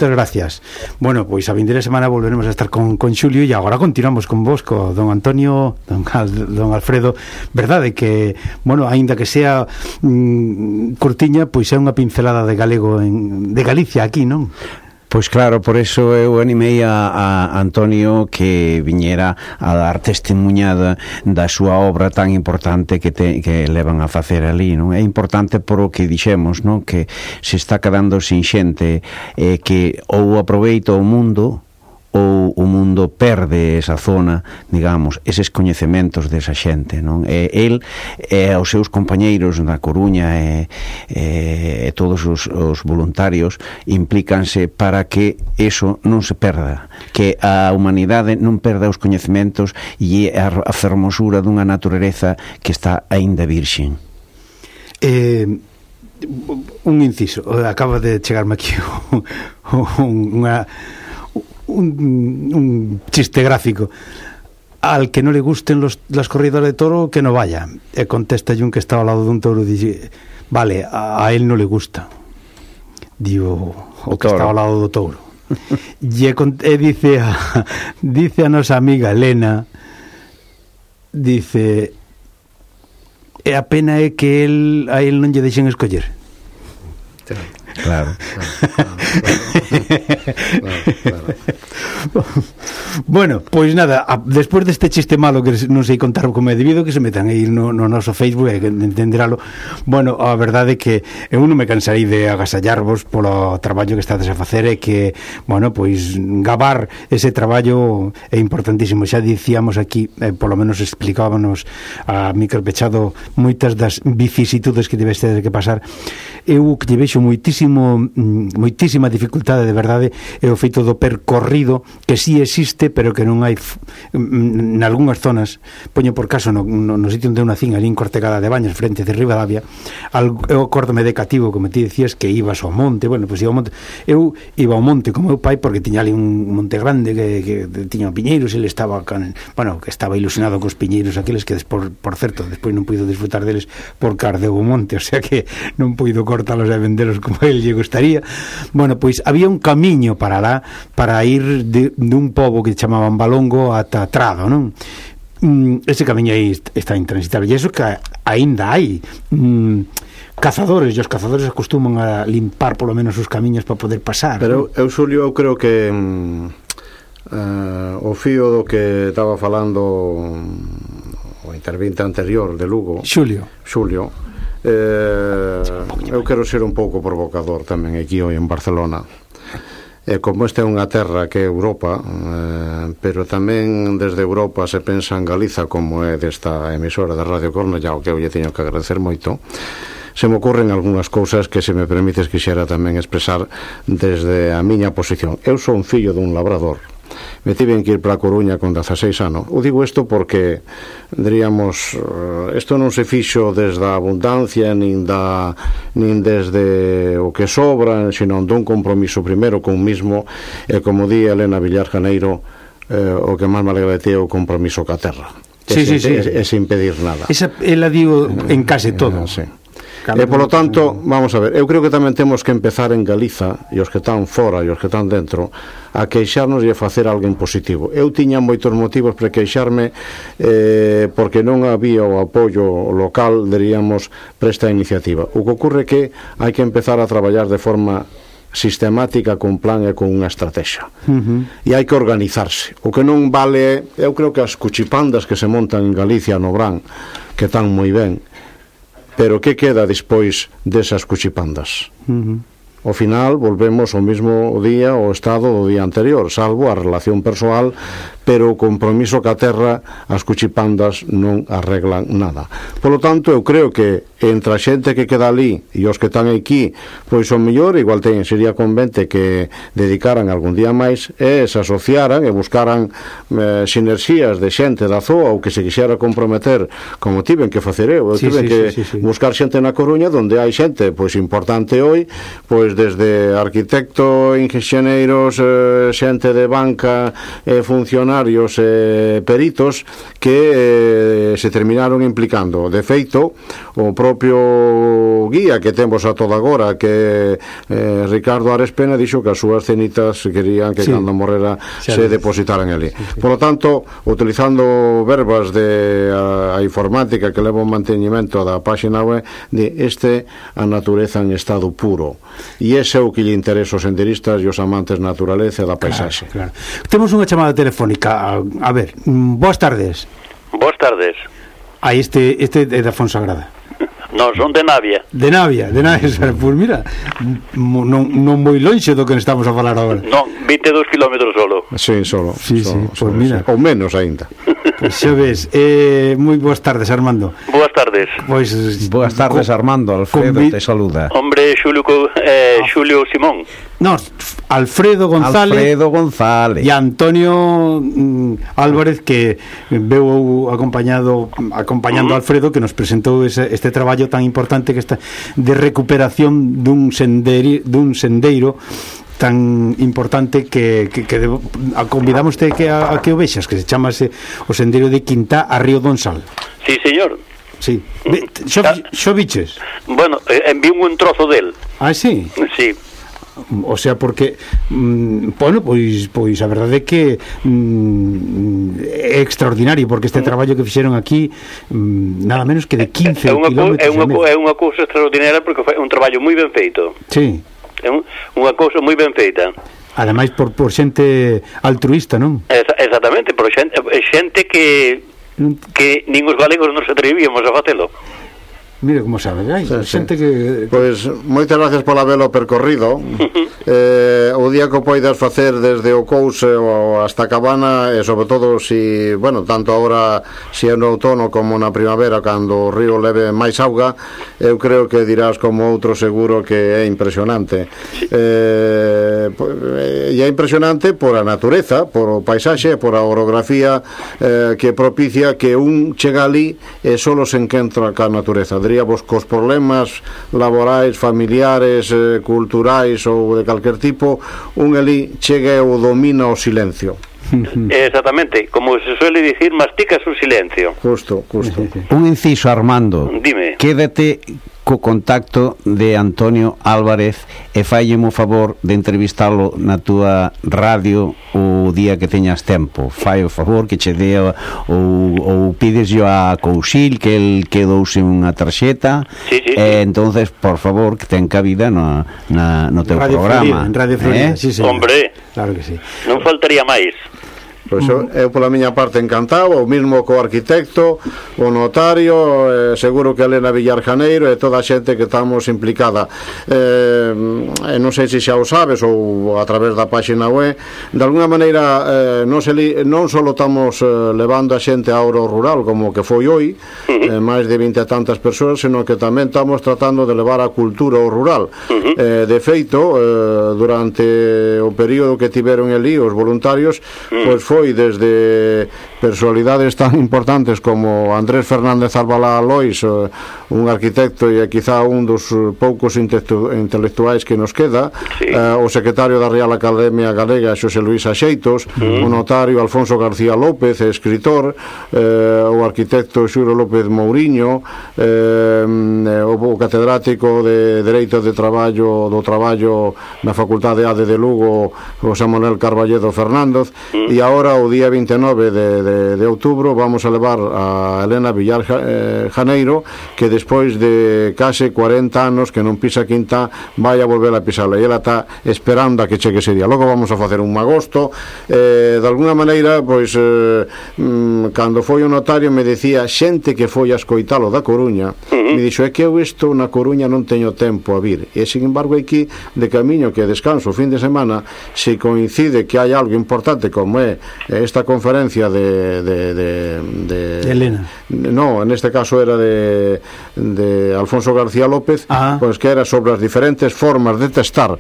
moitas gracias. Bueno, pois a vindeira semana volveremos a estar con Xulio e agora continuamos con vos, co don Antonio, don Alfredo. Verdade que, bueno, aínda que sea curtiña, pois é unha pincelada de galego de Galicia aquí, non? Pois claro, por eso eu animei a Antonio que viñera a dar testemunhada da súa obra tan importante que levan a facer ali, non? É importante por o que dixemos, non? Que se está quedando sin xente, que ou aproveita o mundo ou o mundo perde esa zona, digamos, eses coñecementos desa xente, non? El e os seus compañeiros na Coruña e todos os voluntarios implícanse para que eso non se perda, que a humanidade non perda os coñecementos e a fermosura dunha natureza que está aínda virxen. Un inciso, acaba de chegarme aquí un chiste gráfico. Al que no le gusten las corridas de toro, que no vaya. E contesta un que estaba ao lado dun touro, dice, vale, a él no le gusta. Digo, o que estaba ao lado do touro. E dice a nosa amiga Elena, dice, e a pena é que a él non lle deixen escoller. Claro. Bueno, pois nada, despois deste chiste malo que non sei contar como é debido, que se metan aí no noso Facebook e entenderalo. Bueno, a verdade é que eu non me cansarei de agasallarvos polo traballo que estades a facer e que, bueno, pois gabar ese traballo é importantísimo. Xa dicíamos aquí, polo menos explicábamos a micro pechado moitas das vicisitudes que tiveste que pasar. Eu que lle vexo moitísima dificultade de verdade é o feito do percorrido, que sí existe, pero que non hai nalgúnas zonas. Poño por caso no sitio onde eu nacín, ali en Cortegada de Baños, frente de Ribadavia. Eu acórdome de cativo, como ti decías, que ibas ao monte. Bueno, pois iba ao monte. Eu iba ao monte con meu pai porque tiña ali un monte grande que tiña piñeiros e ele estaba que estaba ilusionado cos piñeiros aqueles que por certo, despois non puido disfrutar deles porque ardeu o monte, o sea que non puido cortalos e vendelos como ele lle gustaría. Bueno, pois había un camiño para lá, para ir dun pobo que chamaban Balongo ata Trado, non? Ese camiño aí está intransitable, e iso que aínda hai cazadores, e os cazadores acostuman a limpar polo menos os camiños para poder pasar. Pero eu, Xulio, eu creo que o fío do que estaba falando o intervinte anterior de Lugo, Xulio, eu quero ser un pouco provocador tamén aquí hoy en Barcelona. Como esta é unha terra que é Europa, pero tamén desde Europa se pensa en Galiza, como é desta emisora de Radio Cornellá, o que eu lle teño que agradecer moito. Se me ocorren algunhas cousas que, se me permites, quixera tamén expresar desde a miña posición. Eu son fillo dun labrador. Me tiven que ir para a Coruña con 16 anos. O digo isto porque, diríamos, isto non se fixo desde a abundancia nin desde o que sobra, sino dun compromiso primeiro con mismo, e como di Elena Villar Janeiro, o que máis me alegra de ti é o compromiso ca terra. Sí. E sin pedir nada. Esa ela digo en case todo. Sí. E polo tanto, vamos a ver, eu creo que tamén temos que empezar en Galiza, e os que están fora e os que están dentro, a queixarnos e a facer algo en positivo. Eu tiña moitos motivos para queixarme porque non había o apoio local, diríamos, para esta iniciativa. O que ocorre é que hai que empezar a traballar de forma sistemática, con plan e con unha estrategia. E hai que organizarse. O que non vale, eu creo que as cuchipandas que se montan en Galicia, no Brán, que están moi ben, pero que queda despois desas cuchipandas? Ao final volvemos ao mesmo día, ao estado do día anterior, salvo a relación persoal, pero o compromiso ca terra, as cuchipandas non arreglan nada. Polo tanto, eu creo que entre a xente que queda ali e os que están aquí, pois o mellor igual sería convente que dedicaran algún día máis e se asociaran e buscaran sinerxías de xente da zoa, ou que se quixera comprometer, como tiven que facer eu tiven que buscar xente na Coruña, onde hai xente pois importante hoy, pois desde arquitecto, inxeneiros, xente de banca, funcionarios, funcionarios peritos que se terminaron implicando. De feito, o propio guía que temos a toda agora, que Ricardo Ares Pena, dixo que as súas cenitas querían que cando morrera se depositaran ali. Por lo tanto, utilizando verbas de a informática que leva o manteñimento da páxina web, de a natureza en estado puro, e ese é o que lle interesa aos senderistas e os amantes da naturaleza e da paisaxe. Claro. Temos unha chamada telefónica. A ver, boas tardes. Boas tardes. Este é da Fonsagrada. Non, son de Navia. De Navia. Pois mira, non moi lonxe do que estamos a falar agora. Non, 22 kilómetros solo. Sí, solo. Pois mira. Ou menos aínda. Pois xa ves, moi boas tardes, Armando. Boas tardes. Pois boas tardes, Armando. Alfredo te saluda. Hombre, Xulio Simón. No, Alfredo González e Antonio Álvarez, que veu acompañando a Alfredo, que nos presentou este traballo tan importante que está de recuperación dun sendeiro tan importante que convidamos a que o vexas, que se chamase o sendeiro de Quintá a Río Donsal. Sí, señor. Sí. Xo biches? Bueno, envío un trozo del. Ah, sí? Sí. O sea, porque bueno, pois a verdade é que é extraordinario, porque este traballo que fixeron aquí nada menos que de 15 kilómetros. É unha cousa extraordinaria, porque é un traballo moi ben feito. Sí. É unha cousa moi ben feita. Ademais por xente altruista, non? Exactamente, por xente que nin os galegos nos atrevíamos a facelo. Mira como sabe, xente que... Pois, moitas gracias por habelo percorrido. O día que o poidas facer desde o Couse hasta a Cabana, e sobre todo si, bueno, tanto agora si é no outono como na primavera, cando o río leve máis auga, eu creo que dirás como outro seguro que é impresionante. E é impresionante por a natureza, por o paisaxe, por a orografía que propicia que un chega ali e solo se encontra ca natureza. Diríamos cos problemas laborais, familiares, culturais ou de calquer tipo, un ali chega e o domina o silencio. Exactamente, como se suele dicir, masticas o silencio. Justo. Un inciso, Armando. Dime. Quédate co contacto de Antonio Álvarez e faillemo o favor de entrevistalo na túa radio o día que teñas tempo. Fai o favor que che dea ou pides yo a Cousil, que el quedouse unha tarxeta. Sí. Entonces, por favor, que ten cabida no teu Radio programa. Florida, en Radio Florida, sí, señor. Hombre, claro que sí. Non faltaría máis. Pois eu pola miña parte encantado, o mismo co arquitecto, o notario, seguro que Elena Villar Janeiro e toda a xente que estamos implicada. Non sei se xa o sabes ou a través da páxina web, de alguna maneira non só estamos levando a xente ao rural como que foi hoy, máis de 20 e tantas persoas, senón que tamén estamos tratando de levar a cultura ao rural. De feito, durante o período que tiveron ali os voluntarios, pois foi desde personalidades tan importantes como Andrés Fernández Albalá Lois, un arquitecto e quizá un dos poucos intelectuais que nos queda, o secretario da Real Academia Galega Xosé Luís Axeitos, o notario Alfonso García López, escritor, o arquitecto Xuro López Mouriño, o catedrático de Dereito do Traballo na Facultade ADE de Lugo, José Manuel Carballedo Fernández, e agora o día 29 de outubro vamos a levar a Elena Villar Janeiro, que despois de case 40 anos que non pisa Quintá vai a volver a pisarla, e ela está esperando a que chegue ese día. Logo vamos a facer un magosto. De alguna maneira, pois cando foi o notario me decía xente que foi a escoitalo da Coruña, me dixo, é que eu isto na Coruña non teño tempo a vir, e sin embargo aquí de camiño que descanso o fin de semana, se coincide que hai algo importante como é esta conferencia de Elena. No, en este caso era de Alfonso García López, pois que era sobre as diferentes formas de testar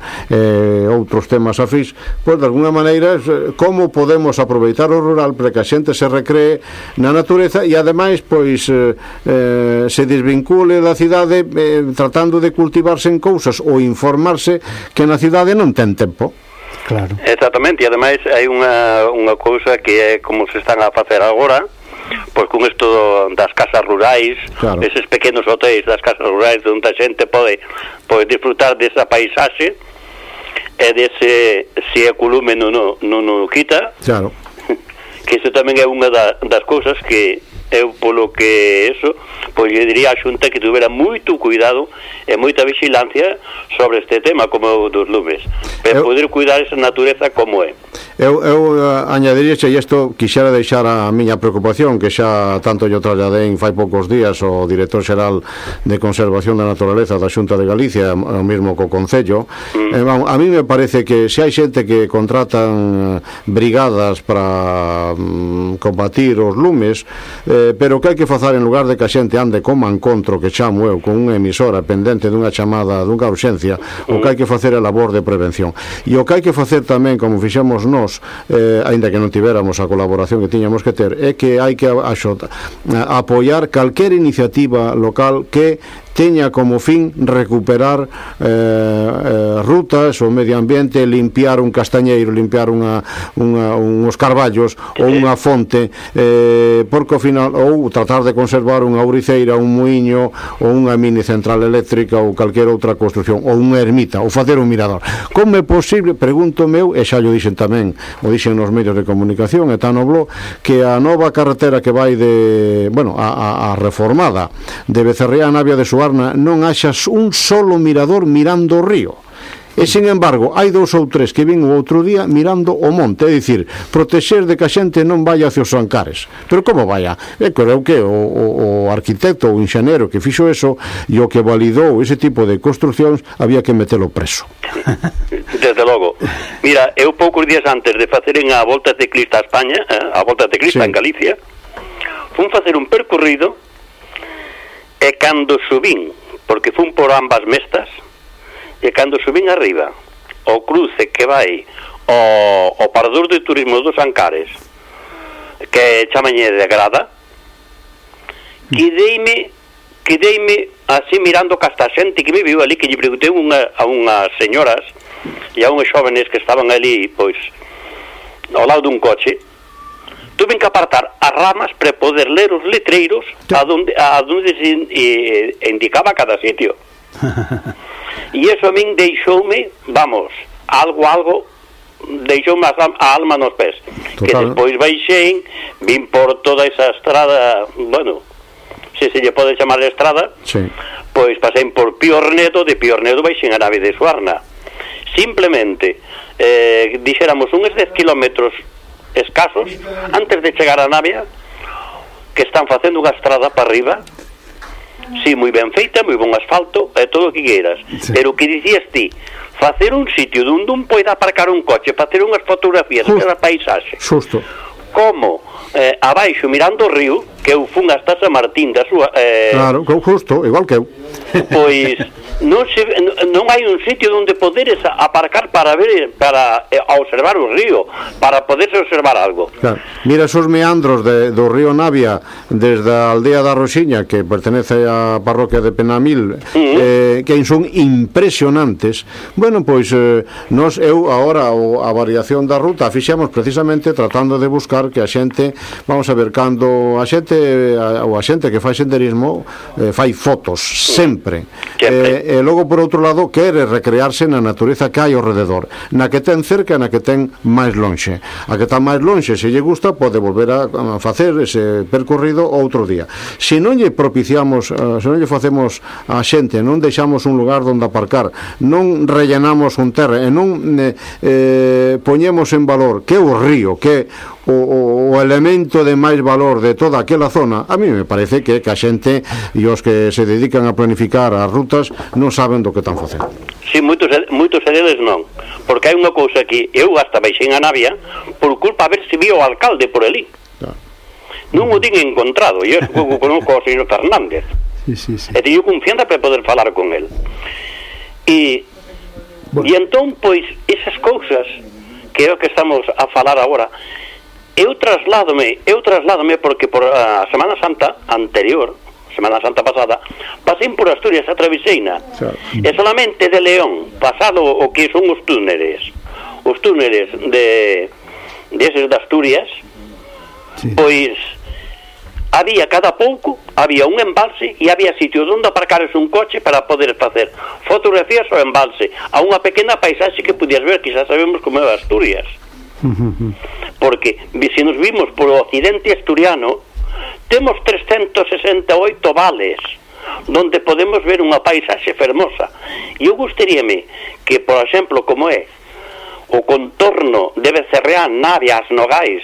outros temas afís, pois de alguna maneira como podemos aproveitar o rural para que a xente se recree na natureza e ademais pois se desvincule da cidade, tratando de cultivarse en cousas ou informarse que na cidade non ten tempo. Claro. Exactamente, e ademais hai unha cousa que é como se están a facer agora, pois con isto das casas rurais, claro, eses pequenos hotéis das casas rurais onde a xente pode disfrutar desa paisaxe e dese se o colume non quita. Claro. Que iso tamén é unha das cousas que eu, polo que eso, pois eu diría a Xunta que tuvera moito cuidado e moita vigilancia sobre este tema como o dos lumes, para poder cuidar esa natureza como é. Eu añadiría e isto quixera deixar a miña preocupación, que xa tanto yo trasladei fai poucos días o director xeral de Conservación da Naturaleza da Xunta de Galicia, o mesmo co Concello. A mí me parece que se hai xente que contratan brigadas para combatir os lumes, pero que hai que facer en lugar de que a xente ande como encontro, que chamo eu, con unha emisora pendente dunha chamada, dunha urxencia, o que hai que facer é a labor de prevención. E o que hai que facer tamén, como fixemos nós, aínda que non tivéramos a colaboración que tiñamos que ter, é que hai que apoiar calquer iniciativa local que teña como fin recuperar rutas, o medio ambiente, limpiar un castañeiro, limpiar uns carballos ou unha fonte, porque ao final, ou tratar de conservar unha ouriceira, un muiño ou unha mini central eléctrica ou calquer outra construción, ou unha ermita, ou facer un mirador. Como é posible, pregunto meu, e xa lo dixen tamén, o dixen nos medios de comunicación, e tan no blog, que a nova carretera que vai de, bueno, a reformada de Becerrea a Navia de Suárez non haxas un solo mirador mirando o río. E, sin embargo, hai 2 ou 3 que vin o outro día mirando o monte, é dicir, protexer de que a xente non vaya hacia os Ancares. Pero como vaya? Creo que o arquitecto ou enxeñero que fixo eso e o que validou ese tipo de construcións había que metelo preso. Desde logo. Mira, eu poucos días antes de faceren a Volta Ciclista a España, a Volta Ciclista en Galicia, fun facer un percorrido. E cando subín, porque fun por ambas mestas, e cando subín arriba, o cruce que vai o Parador de Turismo dos Ancares, que chamañe de Grada, quedeime así mirando que hasta a xente que me viu ali, que lle preguntei a unhas señoras e a unhas xóvenes que estaban ali, pois, ao lado dun coche. Tuve que apartar as ramas para poder ler os letreiros a donde se indicaba cada sitio. E eso a min deixoume, vamos, algo deixoume a alma nos pés. Total. Que despois baixei, vin por toda esa estrada, bueno, se lle pode chamar de estrada, sí. Pois pasei por Piornedo, de Piornedo baixei a Nave de Suarna. Simplemente, dixéramos, uns 10 kilómetros escasos antes de chegar a Navia, que están facendo unha estrada para arriba, sí, moi ben feita, moi bon asfalto e todo o que queiras, sí. Pero que dicías ti, facer un sitio onde un poida aparcar un coche para ter unhas fotografías da paisaxe, xusto, como abaixo mirando o río, que eu fun hasta San Martín da súa claro, justo, igual que eu, pois non hai un sitio onde poderes aparcar para ver, para observar o río, para poderse observar algo. Claro. Mira esos meandros do río Navia desde a aldea da Roxiña, que pertenece á parroquia de Penamil, que son impresionantes. Bueno, pois eu agora a variación da ruta fixemos precisamente tratando de buscar que a xente, vamos a ver, cando a xente ou a xente que fai senderismo fai fotos sempre. E logo por outro lado quere recrearse na natureza que hai ao rededor, na que ten cerca e na que ten máis lonxe. A que está máis lonxe, se lle gusta, pode volver a facer ese percorrido outro día. Se non lle propiciamos, se non lle facemos a xente, non deixamos un lugar onde aparcar, non rellenamos un terra e non poñemos en valor que é o río, que é o elemento de máis valor de toda aquela zona, a mí me parece que a xente e os que se dedican a planificar as rutas non saben do que están facendo. Si, moitos deles non, porque hai unha cousa que eu hasta baixei a Navia por culpa a ver se vio o alcalde por ali. Non o din encontrado, e eu conozco ao señor Fernández, e teño confianza para poder falar con el. E entón, pois, esas cousas que é o que estamos a falar agora, eu trasládome porque por a Semana Santa anterior, Semana Santa pasada, pasei por Asturias a Traviseina, e solamente de León, pasado o que son os túneles, os túneles deses de Asturias, pois había cada pouco, había un embalse e había sitios onde aparcares un coche para poder facer fotografías ao embalse, a unha pequena paisaxe que podías ver, que xa sabemos como é Asturias. Porque se nos vimos polo occidente asturiano, temos 368 vales donde podemos ver unha paisaxe fermosa. E eu gustaríame que, por exemplo, como é o contorno de Becerreán, Navia, As Nogais,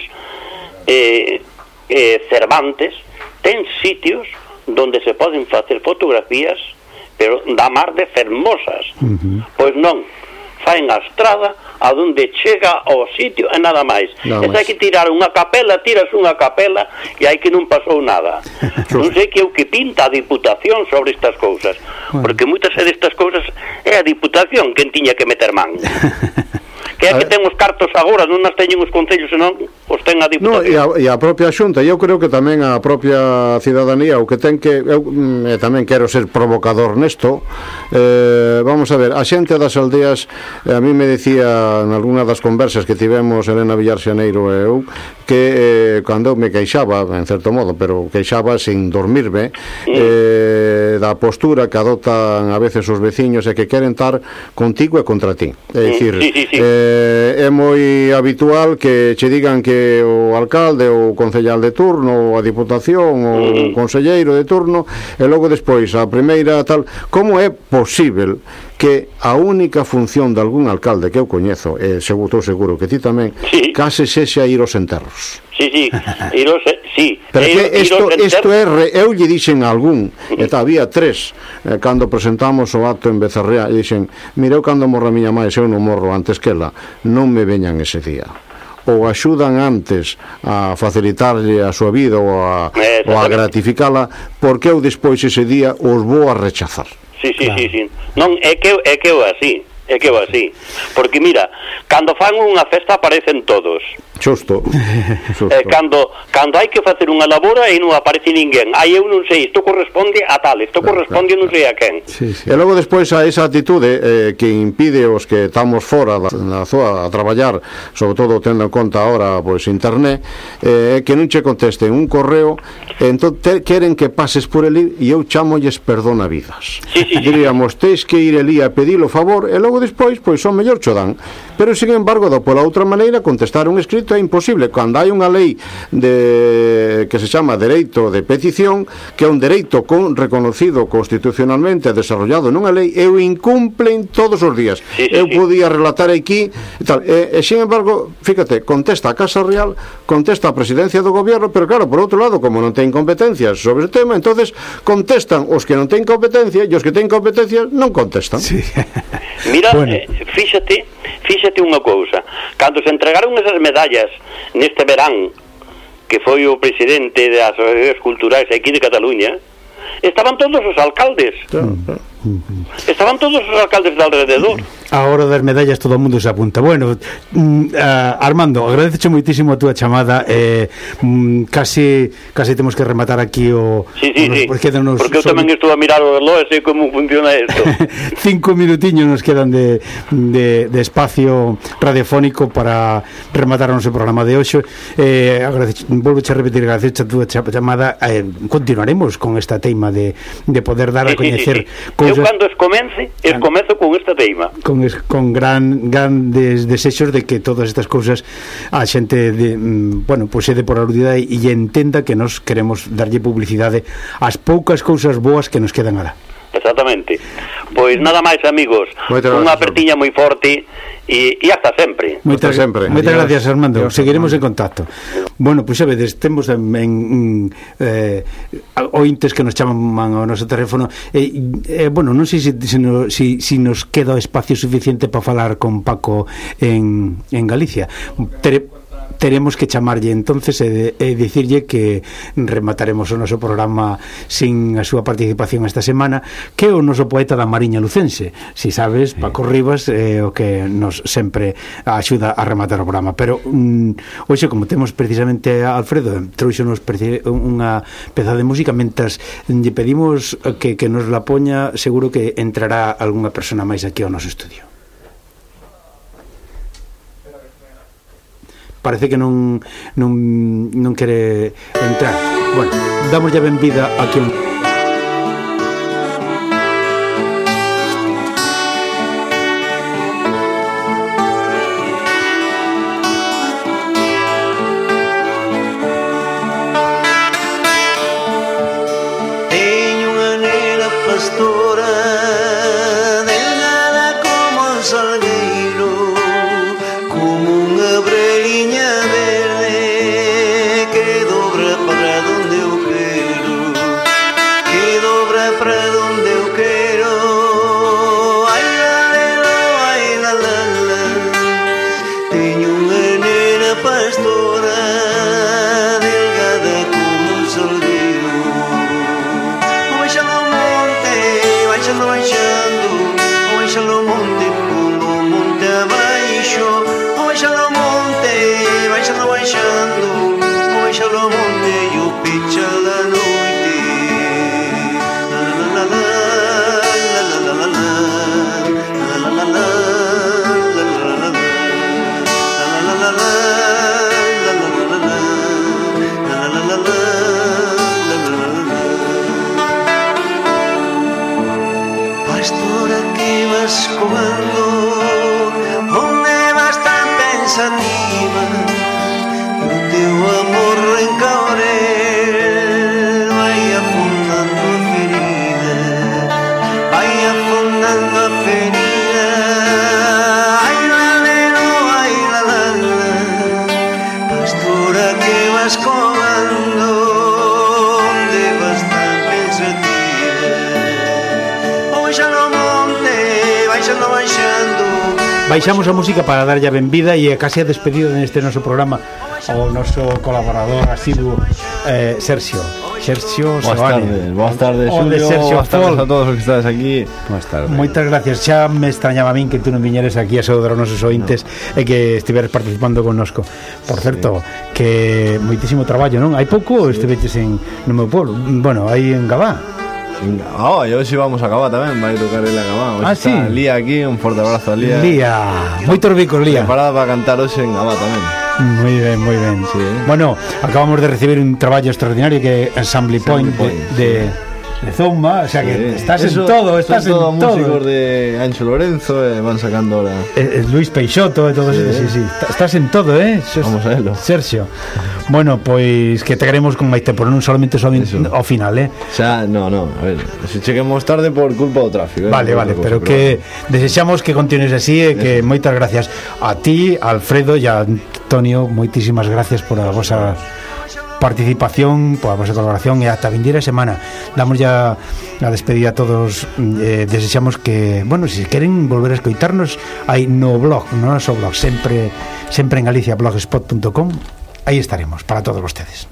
Cervantes, ten sitios donde se poden facer fotografías, pero da mar de fermosas. Pois non, faen a estrada a donde chega ao sitio e nada máis. E se hai que tirar unha capela, tiras unha capela e hai que non pasou nada. Non sei que é o que pinta a Diputación sobre estas cousas, porque moitas destas cousas é a Diputación quen tiña que meter man. Que é que ten os cartos agora, non nas teñen os concellos, senón os ten a Diputación. E a propia Xunta, eu creo que tamén a propia cidadanía, o que ten que eu tamén quero ser provocador nesto, vamos a ver, a xente das aldeas, a mí me decía en algunha das conversas que tivemos Elena Villar Xaneiro e eu, que cando me queixaba, en certo modo, pero queixaba sin dormirme, da postura que adoptan a veces os veciños e que queren estar contigo e contra ti. É dicir, é moi habitual que che digan que o alcalde ou o concellal de turno ou a diputación ou o conselleiro de turno e logo despois a primeira tal. Como é posível que a única función de algún alcalde que eu coñezo, e estou seguro que ti tamén, case sexa ir aos enterros? Sí. Pero que isto é eu lle dixen a algún, e había 3 cando presentamos o acto en Becerrea, e dixen, mira, eu cando morra a miña máis, eu non morro antes que ela, non me veñan ese día. Ou axudan antes a facilitarlle a súa vida ou a gratificala, porque eu despois ese día os vou a rechazar. Sí. Non, é que eu así. Porque mira, cando fan unha festa aparecen todos. Xusto. Cando hai que facer unha labora e non aparece ninguén. Aí eu non sei, isto corresponde a tal, isto corresponde non sei a quen. E logo despois a esa atitude que impide os que estamos fora da zona a traballar, sobre todo tendo en conta ahora pois internet, que non che contesten un correo, entón queren que pases por ali e eu chamolles perdonavidas. Diríamos, tens que ir ali a pedilo favor e logo despois, pois son mellor cho dan. Pero, sin embargo, pola outra maneira, contestar un escrito é imposible. Cando hai unha lei que se chama dereito de petición, que é un dereito reconocido constitucionalmente, desarrollado nunha lei, e o incumplen todos os días. Eu podía relatar aquí e tal. Sin embargo, fíjate, contesta a Casa Real, contesta a Presidencia do Gobierno, pero claro, por outro lado, como non ten competencias sobre o tema, entonces contestan os que non ten competencia e os que ten competencia non contestan. Mira, fíxate unha cousa, cando se entregaron esas medallas neste verán, que foi o presidente das asociacións culturais aquí de Cataluña, estaban todos os alcaldes. Estaban todos os alcaldes de alrededor. A hora das medallas todo o mundo se apunta. Bueno, Armando, agradecho moitísimo a túa chamada. Casi temos que rematar aquí o... Sí. Porque eu tamén estou a mirar o reloj e sei como funciona isto. 5 minutiños nos quedan de espacio radiofónico para rematar o noso programa de hoxe. Volvo a repetir, agradecho a túa chamada. Continuaremos con esta teima de poder dar a coñecer cousas. Eu cando escomezo con esta teima. Con grandes desexos de que todas estas cousas a xente se dé por aludida e entenda que nos queremos darlle publicidade ás poucas cousas boas que nos quedan alá. Exactamente. Pois nada máis, amigos, unha apertiña moi forte e hasta sempre. Moitas gracias, Armando. Seguiremos en contacto. Bueno, pois sabedes, temos ointes que nos chaman ao noso teléfono. Non sei se nos queda espacio suficiente para falar con Paco en Galicia. Teremos que chamarlle entonces e dicirlle que remataremos o noso programa sin a súa participación esta semana, que é o noso poeta da Mariña Lucense. Si sabes, Paco Rivas é o que nos sempre axuda a rematar o programa. Pero hoxe, como temos precisamente a Alfredo, trouxonos unha peza de música, mentras lle pedimos que nos la poña, seguro que entrará algunha persona máis aquí ao noso estudio. parece que non quere entrar. Bueno, damos ya benvida aquí un... Baixamos a música para darlle a benvida e casi a despedida neste noso programa ao noso colaborador asiduo Sergio Seoane. Boas tardes, Xulio. Boas tardes a todos os que estades aquí. Boas tardes. Moitas gracias. Xa me extrañaba a min que tú non viñeres aquí a saudar os nosos ointes e que estiveres participando connosco. Por certo, que moitísimo traballo, non? Hai pouco estiveches no meu pueblo. Bueno, aí en Gabá. E hoxe vamos a Gabá tamén. Vai tocar el a Gabá. Sí? Lía aquí, un forte abrazo a Lía. Moitos bicos, Lía. Preparada para cantar hoxe en Gabá tamén. Moi ben. Sí. Bueno, acabamos de recibir un traballo extraordinario que é Assembly Point de Zomba, o sea que estás en todo, estás en todo. Músicos de Ancho Lorenzo van sacando ahora. Luis Peixoto e todo eso, sí. Estás en todo, Vamos a verlo. Sergio. Bueno, pois que te queremos con máis tempo, non solamente ao final, Xa, no, a ver, se cheguemos tarde por culpa do tráfico. Vale, pero que desexamos que continues así e que moitas gracias a ti, a Alfredo e a Antonio, moitísimas gracias por a vosa participación, por a vosa colaboración e ata vindeira semana. Damos ya a despedida a todos, desexamos que, bueno, se queren volver a escoitarnos aí no blog, no noso blog, sempre en Galicia, blogspot.com. Aí estaremos para todos vostedes.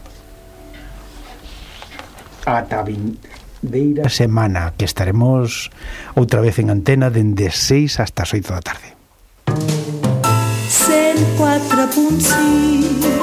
Ata vindeira semana, que estaremos outra vez en antena dende 6 hasta as 8 da tarde. 104.6